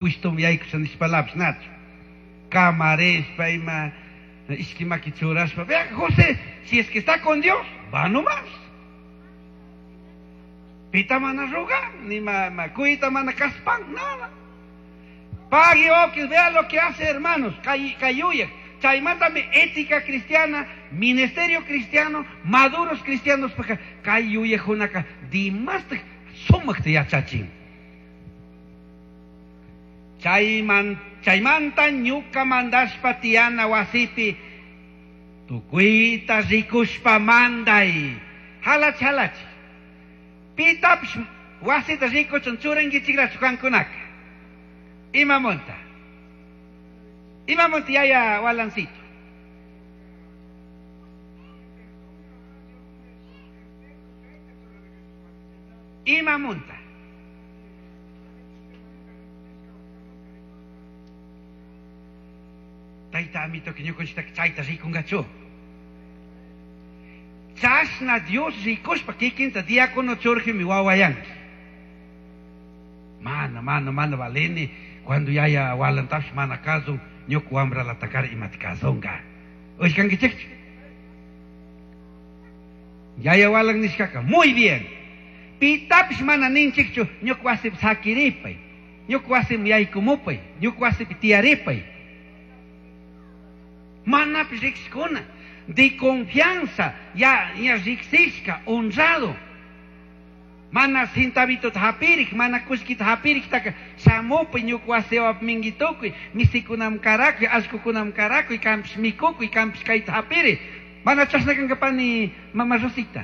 Pushtuman yaykusha nishpalapish nachu. Kamarishpa ima ishki maki churashpa, vea José, si es que está con Dios, va nomás. Pita mana rogan, ni ma, cuita mana kaspan, nada. Pague oquis, vea lo que hace hermanos, kay Chaymantami ética cristiana, ministerio cristiano, maduros cristianos, kay yuyajkunaka dimastij sumajta yachachin. Chayman, chaymanta ñuka mandashpa tiyana wasipi tukuita rikushpa manday. Halach halach. Pitapish wasita rikuchun churankichiklachu kankunaka. Imamunta. Imamunta yaya walancito. Imamunta. Tayta amitoka ñukanchiktaka chayta rikungachu. Chashna Dios rikushpa kikinta diácono churjimi wawayanki. Mana, mana, mana valini. Cuando yaya walantapish mana kazun, ñuka wambralatakari imata kazunga. Uyashkankichikchu? Yaya walan nishkaka, muy bien. Pitapish mana ninchikchu, ñuka wasipi sakiripay. Ñuka wasiman yaykumupay. Ñuka wasipi tiyaripay. Manapish riqshikuna. De confianza, ya, ya riqsishka, honrado. Mana centavitota hapirik, mana kullkita hapiriktaka shamupay ñuka wasiwapi mingitukuy, misikunam karakuy, allkukunam karakuy, kampish mikukuy, kampish kayta hapiri. Mana chashna kankapani mama Rosita.